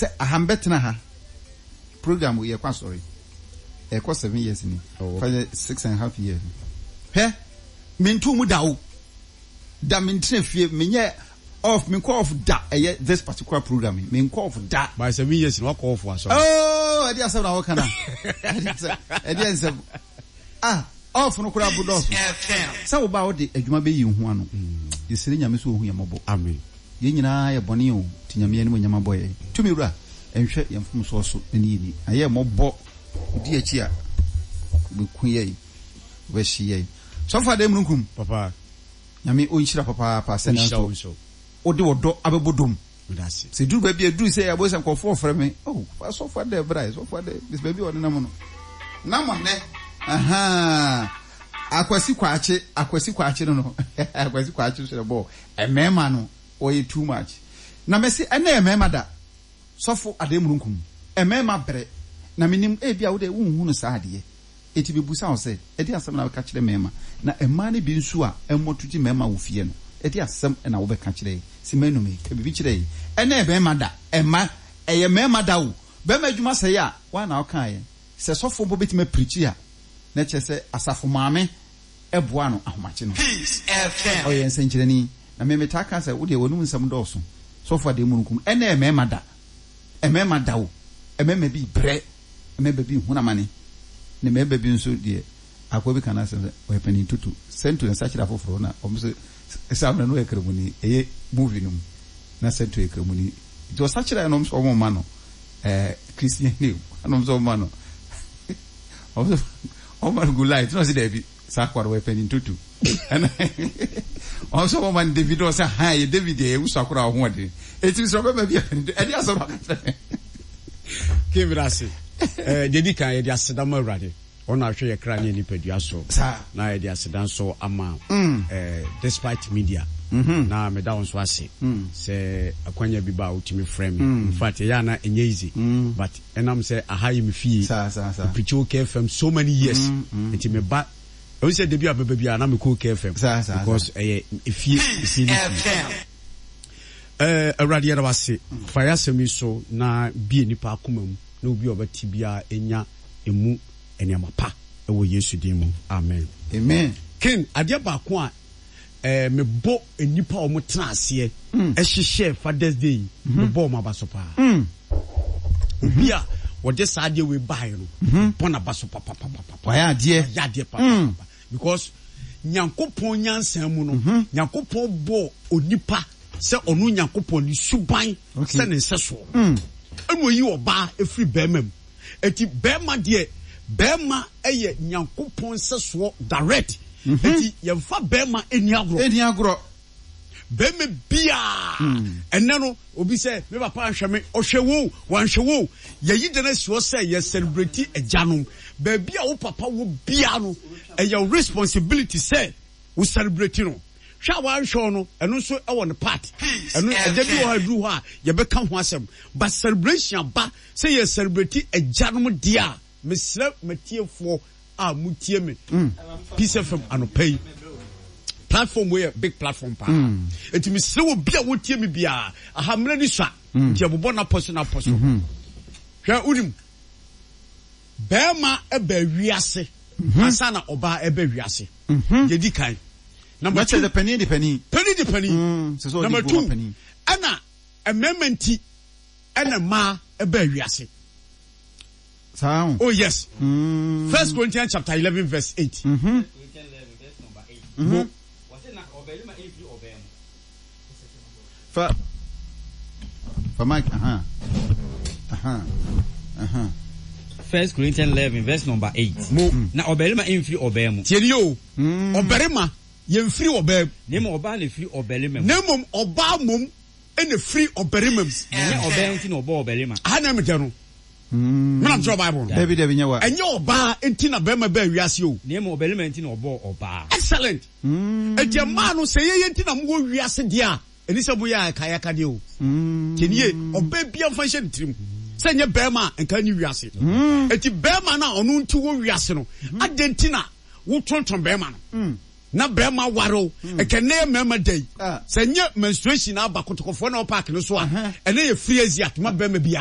Sɛ aha mbɛtena ha program wei yɛkɔ asɔre ɛkɔ 7 years ni, Oh, fa yɛ 6½ years. Hwɛ, mentu mu da o da, mentena fie, menyɛ off, menkɔ off da. Ɛyɛ this particular program yi, menkɔ off da. By 7 years na wakɔ off asɔre? Oh, ɛde asɛm na wɔka na ɛde nsɛm ah, off no koraa bo dɔɔso sɛ wo ba wode adwuma bɛyi wo ho ano. Yɛsrɛ Nyame sɛ ɔhu yɛ mmɔbɔ. Amen. Yɛn nyinaa yɛ bɔne o, nti Nyame anim nyama bɔ yɛn tumi wura nhwɛ yɛn mfomsoɔ so na ne yɛni na yɛ mmɔbɔ. Wodi akyi a, wobɛku yɛn, wobɛhye yɛn. Sɔfo Adan Mununkum. Papa. Nyame ɔnhyira papaapa sɛ ɔnhyira wo nanso nso. Wode wɔdɔ abɛbɔ dom. Meda ase. Sɛ duru baabi a duru sɛ yɛabɔ sɛ nkurɔfoɔ frɛ me, oh, sɔfo Adan bra, sɔfo Adan bɛsi baabi a ɔne nam no nam nnɛ. Aha, Akwasi Kwakye, Akwasi Kwakye no, Akwasi Kwakye so bɔ mmarima no, wɔyɛ too much. Na mɛsi ɛnɛ yɛ mmarima da. Sɔfo Adan Mununkum, mmarima brɛ na menim ebi a wode wonhu no saa adeɛ. Eti bebusa wo sɛ, ɛde asɛm na wobɛka kyerɛ mmarima? Na mmaa no bi nso a ɛmmɔto gye mmarima wɔ fie no, ɛde asɛm na wobɛka kyerɛ yi? Si m'anum yi, ka biribi kyerɛ yi. Ɛnɛ yɛ mmarima da, ɛmma ɛyɛ mmarima da o. Barima adwuma sɛe a, woa na wokaeɛ. Sɛ sɔfoɔ mpo bɛtumi apirikyi a, na kyerɛ sɛ asafo maame boa no ahomakye no. Ɔyɛ nsɛnkyerɛnni. Na me metaa ka sɛ, wo deɛ w'anum nsɛm dɔɔso. Sɔfo Adeɛ Mununkum, ɛnɛ yɛ mmarima da. Mmarima da o. Mmarima bi brɛ, mmarima bi hunu amane, na mmarima bi nso deɛ, akoa bi ka n'asɛm sɛ ɔyɛ panin tutu. Sɛnto nsa kyerɛ afoforɔ na wɔn nso saa mmerɛ no ɔyɛ kramoni. Ɛyɛ movie no mu na Sɛnto yɛ kramoni. Nti ɔsa kyerɛ no, wɔn nso wɔn mma no Christian name, ɛna wɔn nso wɔn mma no, wɔn nso wɔn mma no good light, na ɔsi dɛbi, saa akoa no ɔyɛ panin tutu. Ɛna wɔn nso wɔn mma no David, na ɔsɛ han yɛ David deɛ yɛ wusu akora ɔhoɔden. Eti sɛ ɔbɛma bi yɛ panin tutu, ɛde asɛm aka kyerɛ. Kevin ase. Deɛ di kan, yɛde aseda ma Awurade. Ɔno ahwɛ yɛ kra ne yɛ nipadua so. Na yɛde aseda nso ama Despite Media. Na meda wo nso ase sɛ akwanya bi ba a wotumi frɛ me. In fact, ɛyɛ ana ɛnyɛ easy. But ɛnam sɛ aha yɛ me fie. Mepikyi OK FM so many years. Nti meba ɛhu sɛ da bi a bɛba bi a na mekɔ OK FM. Because ɛyɛ efie, efie ne fie. Awurade, yɛda wo ase. Fa yɛ asɛm yi so na bie nipa akoma mu na obi a ɔbɛte biara nya emu nneɛma pa wɔ Yesu din mu. Amen. Amen. Ken, adeɛ baako a mebɔ nnipa a wɔtena aseɛ hyehyɛɛ Father's Day yi, mebɔ wɔn aba so paa. Obi a wɔde saa adeɛ wei baeɛ no, mebɔ n'aba so papapapapa. Wayɛ adeɛ. Wayɛ adeɛ papapapa. Because Nyankopɔn nyansa mu no, Nyankopɔn bɔɔ onipa sɛ ɔno Nyankopɔn ne suban sɛ ne nsɛsoɔ. Ɛna oyi ɔbaa efiri bɛrima mu. Eti bɛrima deɛ, bɛrima yɛ Nyankopɔn nsɛsoɔ direct. Eti yɛnfa bɛrima nni agorɔ. Ɛnni agorɔ. Bɛrima biara ɛnɛ no, obi sɛ me papa anhwɛ me, ɔhwɛ wo, wanhwɛ wo. Yɛyi da no asi hɔ sɛ yɛ celebrate agyanom. Baabi a wo papa wɔ biara no, ɛyɛ wo responsibility sɛ wo celebrate no. Hwɛ a wanhwɛ wo no, ɛno nso ɛwɔ ne part. Ɛno ɛda bi wɔ hɔ a ɛduru hɔ a yɛbɛka ho asɛm. But celebration aba sɛ yɛ celebrate agyanom deɛ a, mesrɛ matiefoɔ a mutie me Peace FM anɔpa yi, platform wei yɛ big platform paa. Eti mesrɛ wɔ bi a wotie me biara, aha mmerɛ ni sua nti ɛbobɔ n'apɔ so n'apɔ so. Hwɛ, wonim bɛrima ɛbɛ wiase ansa na ɔbaa ɛbɛ wiase. Yɛdi kan number two, panin de panin, panin de panin. Sɛ sɛ ɔde number bu two ma panin. Ɛna mmarima nti ɛna mmaa ɛbɛ wiase. Saa ho. Oh yes. First Corinthians chapter 11 verse 8. Mo. Fa mic, aha aha aha. First Corinthians 11 verse number 8. Mo. Na ɔbarima mfiri ɔbaa mu. Tie ni o. Ɔbarima yɛmfiri ɔbaa mu. Na mmom ɔbaa na efiri ɔbarima mu. Na mmom ɔbaa mmom ɛna firi ɔbarima mu. Na ɛnyɛ ɔbaa nti na ɔbɔɔ ɔbarima. Aha na ɛmɛ no. Mena kyerɛ Bible no. Dabi, dabi, nyɛ wa. Ɛnyɛ ɔbaa nti na bɛrima baa wiase o. Na mmom ɔbarima nti na ɔbɔɔ ɔbaa. Excellent. Eti mmaa no, sɛ yɛyɛ nti na mowɔ wiase deɛ a, ɛni sɛ moyɛ akayakadeɛ o. Tiɛ nie, ɔbaa biara mfa nhyɛ ne tirim sɛ nyɛ bɛrima a nka ni wiase. Eti bɛrima no a ɔno nti wɔ wiase no, adɛn nti na wotontɔn bɛrima no? Na bɛrima ware o. Ɛkɛ nnɛ yɛ mmarima da yi. Sɛ nyɛ menstruation aba kotokɔfoɔ na ɔpaaki no so a, ɛnɛ yɛ free exit ma bɛrima biara.